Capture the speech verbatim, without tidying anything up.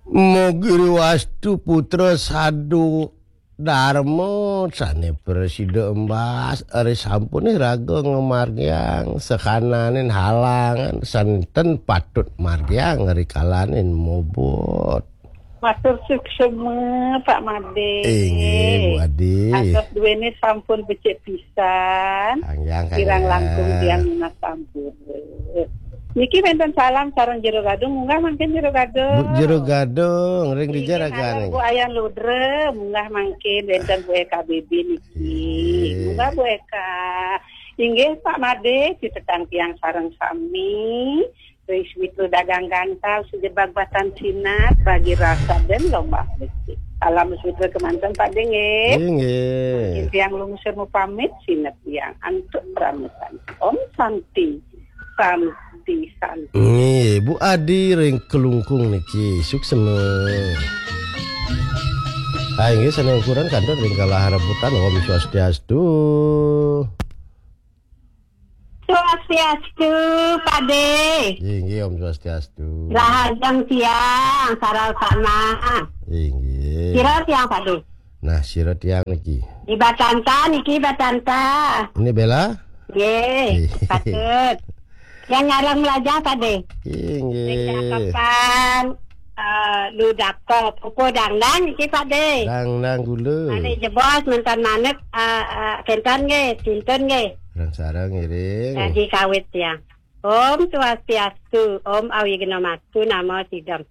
Mogiri wastu putra sadu darma sane prasida embas, ari sampune raga ngamargiang sakananin halangan santen patut margiang rikalanin mobot. Matur suksema, Pak Made. Inggih, Bu Adi. Atos duene sampun becik pisan. Kangyang, kirang kangyang langkung tiang nunas sampun. Niki wenten salam sareng Jero Gadung, munggah mangkin Jero Gadung. Bu Jero Gadung, ring dija. Inggih, ragane. Halo, Bu Ayan Ludra, munggah mangkin wenten Bu Eka Bibi niki. Inggih. Munggah Bu Eka. Inggih, Pak Made, sitetang tiang sareng sami. Ring Switru dagang gantal, sujebag batan sinat, bagi rasa dan lomba becik. Salam Switru kemanten, Pak De, nggih. Inggih. Mangkin tiang lungsur mupamit, sinep tiang antuk pramit. Om Santi, Santi, Santi. Nggih, Bu Adi ring Kelungkung niki, suksema. Ah, inggih, sane ukuran kantun ring kalah rebutan, Om Swastiastu. Swastiastu, Pak De. Inggih, Om Swastiastu. Rahajeng tiang, sareng sama. Inggih. Sira tiang, Pak De. Nah, sira tiang niki. Di Batanta niki, Batanta. Ini Bella? Nggih, patut. Yang ngarang melajah, Pak De. Inggih. Sing cakepan, eh, Ludako, pupu dangdang niki, Pak De. Dangdang gula. Ane jebos nonton manut, eh, eh, kenten nggih, tuntun nggih. Sareng-sareng ngiring. Jadi kawit ya. Om Swastiastu, Om Awighnamastu, Namo Sidam.